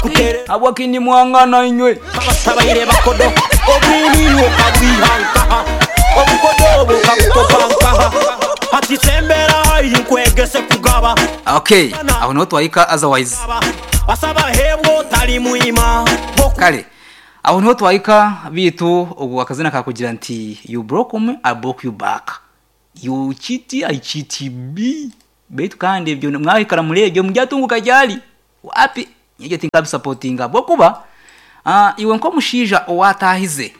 Bakutere Habwaki nimwangana inywe? Abasabaire bakodo Obwini okabwiha nkaha Obukodo obwo okabukopa nkaha Hati sembera haihi nkwegese kugaba Okay, aho niho twahika otherwise. Asaba hebwa otari mwima Kale, aho niho twahika bitu ogwo akazina kakugira nti you broke me, I broke you back. You cheat, I cheat me. Baitu kandi ebyo mwahikara muri ebyo muryatunguka ryari? Wapi? Nyegyo tinkabisupportinga bwokuba iwe nk'omushaija owatahize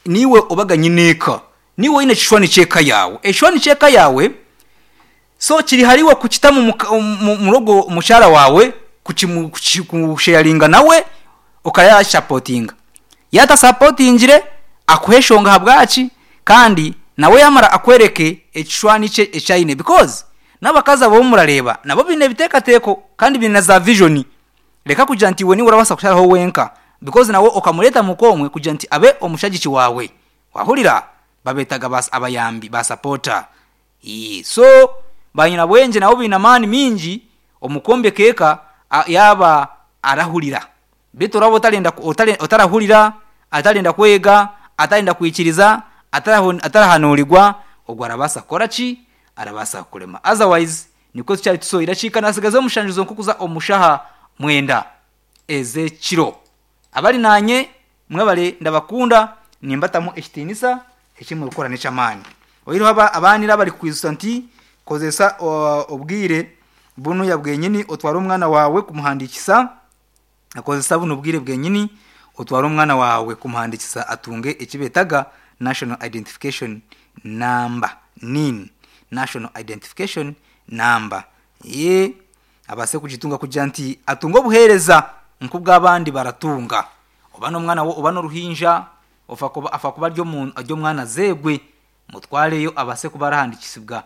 niwe obaga nyineeka, niwe oine ekishwani ky'eka yaawe, ekishwani ky'eka yaawe so kiri hariwe kukitamu murogo mukyara waawe, kusharinga nawe okayashapotinga. Yatasapotingire akuhe enshonga ahabwaki kandi nawe yamara akwereke ekishwani kye eki aine because n'abakazi abo abu murareeba nabo baine ebiteekateeko kandi baine na za vision. Reka kugira nti iwe niiwe orabaasa kusharaho wenka because nawe okamureeta muka omwe kugira nti abe omushagiki waawe. Wahurira? Babeetaga ba abayambi, ba supporter. So banyinabwengye nabo baine amaani maingi omu kwombeka eka yaaba arahurira. Beitu oraba otarenda otarahurira, atarenda kwega, atarenda kwikiriza, atarahanuurirwa, ogwo arabaasa kukora ki? Arabaasa kukurema. Otherwise nikwo tukyari tusohire dakiika naatsigaza omushanju zonka okuza omu shaaha mwenda ez'ekiro. Abari naanye mwebare ndabakunda nimbatamu ekitiinisa eki murikukora n'eky'amaani. Oihireho abaanire abarikukwijutsya nti kozesa obwire bunuya bwenyini otware omwana waawe kumuhandiikisa, kozesa bunu obwire bwenyini otware omwana waawe kumuhandiikisa atunge eki beetaga National Identification Number, NIN, National Identification Number. Abaase kugitunga kugira nti atunge obuheereza nk'obw'abandi baratunga. Oba n'omwana oba n'oruhinja, ofa kuba afa kuba ari ari omwana azeegwe, mutwareyo abaase kuba arahandiikisibwa.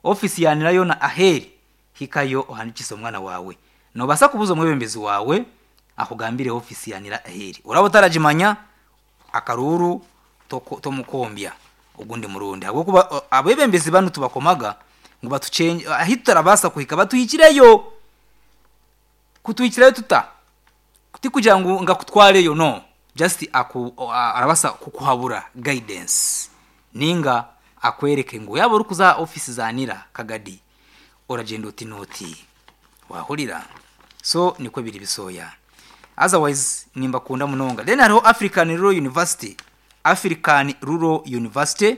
Ofiisi ya nira yoona ahu eri, hikayo ohandiikise omwana waawe. Noobaasa kubuuza omwebembezi waawe akugambire ofiisi ya nira ahu eri. Oraba otaragimanya, akaruuru tomukombya ogundi murundi ahabw'okuba abeebembezi banu tubakomaga ngu batukyengye ahu tutarabaasa kuhika batuhikireyo. Kutuhikirayo tuta? Tikugira ngu ngu akutwareyo no, just aku arabaasa kukuhabura, guidance, ninga akwereke ngu yaaba orikuza aha ofiisi za nira Kagadi oragyenda oti n'oti. Waahurira? So nikwo biri bisooya. Otherwise nimbakunda munonga. Then hariho African Rural University, African Rural University,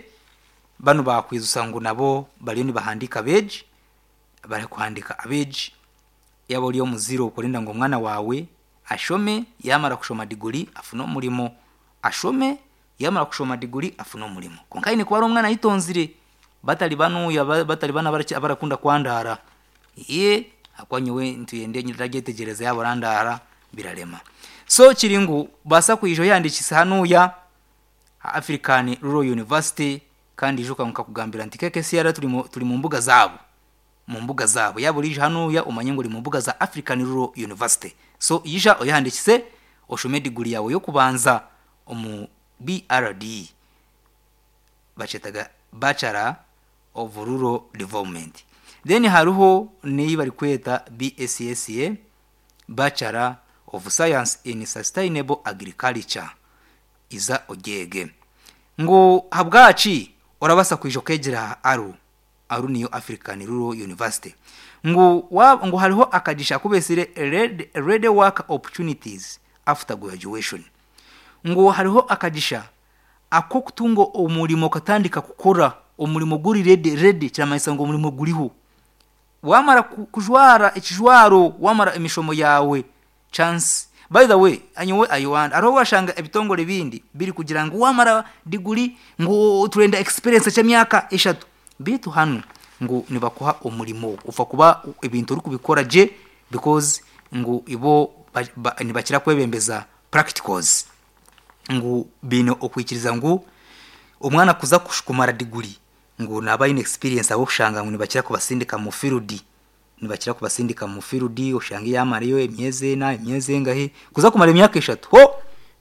banu baakwijusa ngu nabo bariyo nibahandiika abeegi, barikuhandiika abeegi. Yaaba ori omuzaire orikwenda ngu omwana waawe ashome, yaamara kushoma diguri afune omurimo, ashome Yaamara kushoma diguri afune omurimo. Kwonka aine kuba ari omwana ayetonzire batari banuya batari banu abarakunda kwandaara. Eeh ahakuba nyowe nitwenda ndagyetegyereza yaaba orandaara birarema. So kiri ngu baasa kwija oyehandiikise hanuya aha African Rural University kandi ijuka ngu nkakugambira nti KKCR turi mu mbuga zaabo. Mu mbuga zaabo. Yaaba oriija hanuya omanye ngu ori mu mbuga za African Rural University. So ija oyehandiikise oshome diguri yaawe y'okubanza. Omu BRD bakyetaga Bachelor of Rural Development. Then hariho n'ei barikweta BSSA, Bachelor of Science in Sustainable Agriculture. Iza ogyege. Ngu ahabwaki orabaasa kwija okeegyera aha ARU? Aru niyo African Rural University. Ngu waaba ngu hariho akagisha aku beetsire Ready Work Opportunities After Graduation. Ngu hariho akagisha ak'okutunga omurimo okatandika kukora omurimo guri ready, ready kiramanyisa ngu omurimo guriho. Waamara kujwara ekijwaro, waamara emishomo yaawe, chance, by the way nyowe I wonder, hariho obu washanga ebitongore ebindi biri kugira ngu waamara diguri ngu turenda experience ky'emyaka eshatu, beitu hanu ngu nibakuha omurimo ofa kuba ebintu orikubikora gye because ngu ibo nibakira kwebembeza practicals. Ngu baine okwikiriza ngu omwana kuza kumara diguri ngu naaba aine experience ahabw'okushanga ngu nibakira kubasindika mu field, nibakira kubasindika mu field oshange yaamarayo emyezi ena, emyezi engahi, kuza kumara emyaka eshatu ho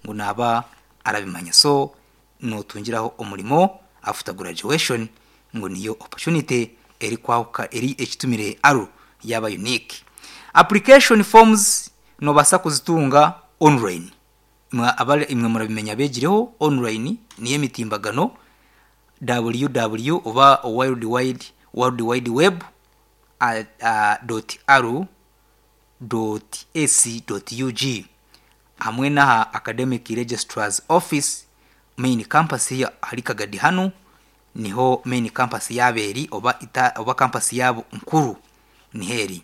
ngu naaba arabimanya. So nootungiraho omurimo after graduation ngu niyo opportunity erikwahuka eri ekitumire ARU yaaba unique. Application forms. Nobaasa kuzitunga online. Imwe abari imwe murabimenya abeegireho online niyo emitimbagano ww oba world wide world wide web dot aru dot ac dot ug hamwe n'aha Academic Registrar's Office main campus ahari Kagadi hanu niho main campus yaabo eri oba ita oba campus yaabo nkuru niho eri.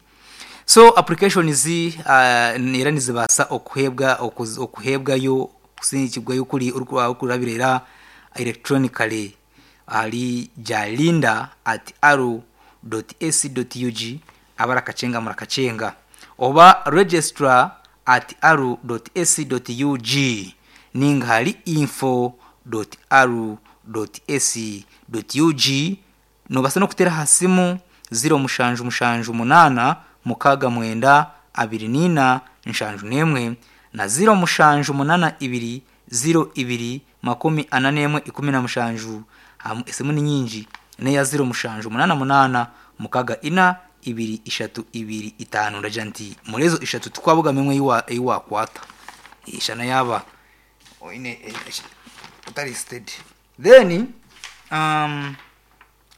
So applications era nizibaasa okuheebwa okuheebwayo kusindikibwayo kuri orikurabira era electronically ahari jalinda at aru dot ac dot ug abarakakyenga murakakyenga oba registrar at aru dot ac dot ug ninga ahari info dot aru dot ac dot ug Noobaasa n'okuteera aha simu ziro mushanju mushanju munaana mukaaga mwenda abiri naina nshanju n'emwe na ziro mushanju munana ibiri ziro ibiri makumi ana n'emwe ikumi na mushanju. Esimu ni nyingi n'eya ziro mushanju munana munaana mukaga ina ibiri ishatu ibiri itaano. Ndagira nti muri ezo ishatu tikwabugamu emwe ei waakwata. Shana yaaba oine otari steady. Then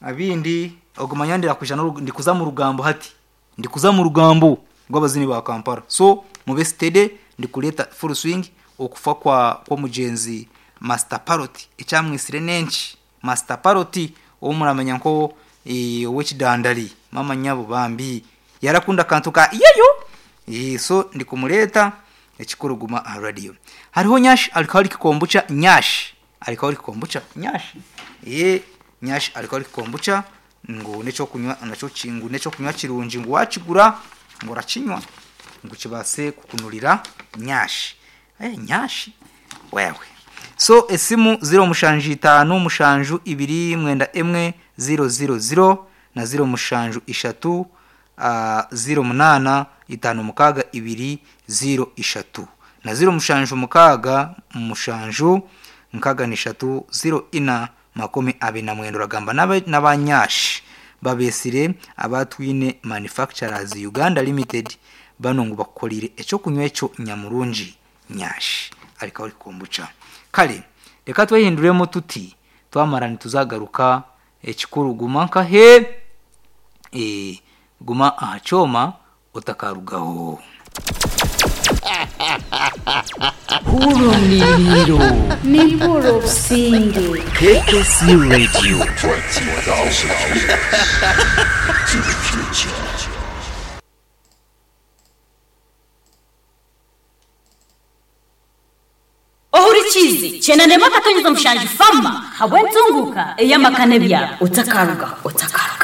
abindi ogumanya ndirakwija ndikuza mu rugambo hati. Ndikuza mu rugambo rw'abazini ba Kampala. So mube steady ndikureeta full swing okufa kwa kw'omugyenzi Master Parrot ekyamwitsire n'enki? Master Parrot ou muramanya nko ow'ekidandari maama nyabo bambi yarakunda akantu ka yeyo so ndikumureeta ekikuru guma aha radio. Hariho Nyash Alcoholic Kombucha Nyash Alcoholic Kombucha Nyash Nyash Alcoholic Kombucha ngu n'ekyokunywa nakyo ngu n'ekyokunywa kirungi ngu waakigura ngu orakinywa ngu kibaase kukunurira nyashi. Eh, nyashi wewe. So esimu ziro mushanju itaano mushanju ibiri mwenda emwe ziro ziro ziro na ziro mushanju ishatu ziro munaana itaano mukaaga ibiri ziro ishatu na ziro mushanju mukaaga mushanju nkaga n'ishatu ziro ina makumi abiri na mwenda oragamba n'aba Nyash babeetsire aba Twine Manufacturers Uganda Limited banu ngu bakukoreire eky'okunywa ekyo nyamurungi Nyash Alcoholic Kombucha. Kare reka twehinduremu tuti twamara nituzagaruka ekikuru guma nkahe guma aha kyoma otakarugaho. Hurra omuriiro. Nimpurira obusinge. KKC Radio. Ohurikiize, Kyenda n'emwe akatonyeza mushanju Farmer habw'entunguuka ey'amaka n'ebyaro. Otakarugaho. Otakarugaho.